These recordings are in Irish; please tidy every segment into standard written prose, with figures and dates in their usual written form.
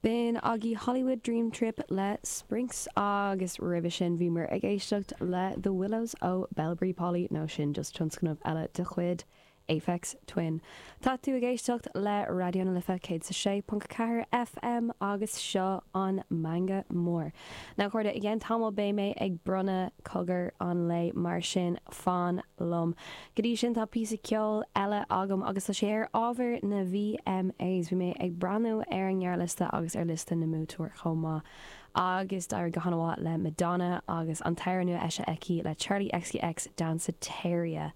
B'in agaibh Hollywood Dream Trip le Sprinks agus roimhe sin bhíomar ag éisteacht le The Willows ó Bellberry Polly nó sin just tionscnamh eile de chuid Aphex Twin. Tá tú ag éisteacht le Raidió na Life 106.4 FM agus seo an Meangadh Mór. Now a chairde, i gceann tamaill beidh mé ag bronnadh cogar an lae mar sin fan liom. Go dtí sin tá píosa ceoil eile agam agus tá sé ar ábhar na VMAs. Bhí mé ag breathnú ar an ngearrliosta agus ar liosta na mbuaiteoir chomh maith agus d'éirigh go han-mhaith le Madonna agus an t-amhrán nua eisithe aici le Charli XCX, Danceteria.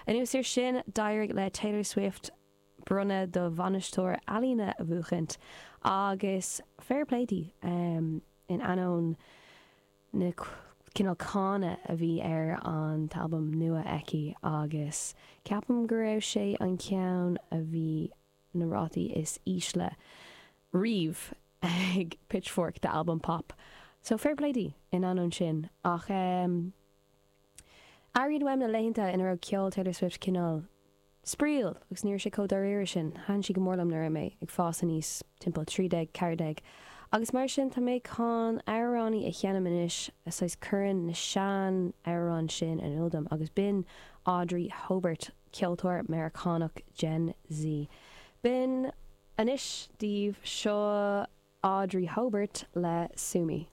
Anuas air sin d'éirigh le Taylor Swift bronnadh do bhainisteoir ealaíne a bhuachaint agus fair play di in ainneoin na cineál cáineadh a bhí ar an t-albam nua aici agus ceapaim go raibh sé an ceann a bhí na rátaí is ísle riamh ag Pitchfork d'albam pop. So fair play di in ainneoin sin ach airím uaim na laethanta ina raibh ceol Taylor Swift cineál spraíúil agus ní raibh sé chomh dáiríre sin. Thaitin sí go mór liom nuair a raibh mé ag fás aníos, timpeall 13, 14, agus mar sin tá mé chun amhránaí a sheinm anois a saghas cuireann na sean amhráin sin in iúl dom agus b'in Audrey Hobert, ceoltóir Meiriceánach Gen Z. B'in anois daoibh, seo Audrey Hobert le Sue Me.